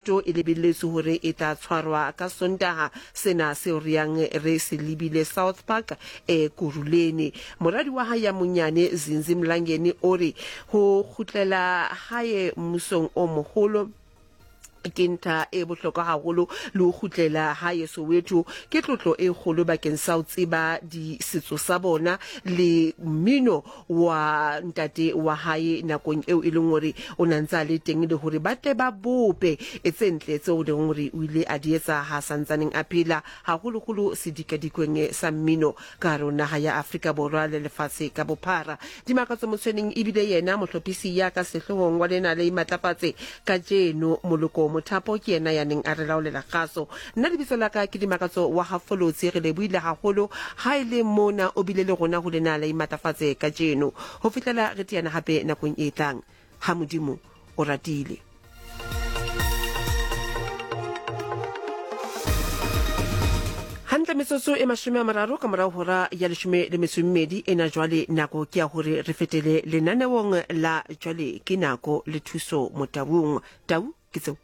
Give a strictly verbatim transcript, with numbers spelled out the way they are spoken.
E lebelletswe hore e tla tshwarwa ka Sontaha sena seo re yang re se lebile South Park e Kuruleni. Moradi wa hae ya monyane Zinzi Mlangeni o re ho kgutlela hae mmusong o moholo ke ntha e bohlokwa haholo, le ho kgutlela hae Soweto ke tlotlo e kgolo bakeng sa ho tseba di setso sa bona le mmino wa ntate wa hae nakong eo e leng hore o na ntse a le teng, le hore ba tle ba bope e tse ntle tseo leng hore o ile a di etsa ha santsaneng a phela, haholoholo sedikadikweng sa mmino ka hare ho naha ya Afrika Borwa le lefatshe ka bophara. Dimakatso Motshweneng ebile yena mohlophisi ya ka sehloohong wa lena le Imatlafatse kajeno. Moloko Mothapo ke yena ya neng a re laolela kgaso. Nna lebitso la ka ke Dimakatso wa Hafolotsi. Re lebohile haholo ha e le mona o bile le rona ho lena la Imatlafatse kajeno. Ho fihlela re teana hape nakong e tlang, ha Modimo o ratile. Hantle metsotso e mashome a mararo ka morao hora ya leshome le metso e mmedi ena, jwale nako ke ya hore re fetele lenaneong la Jwale ke Nako le Thuso Motaung. Tau ke tseo.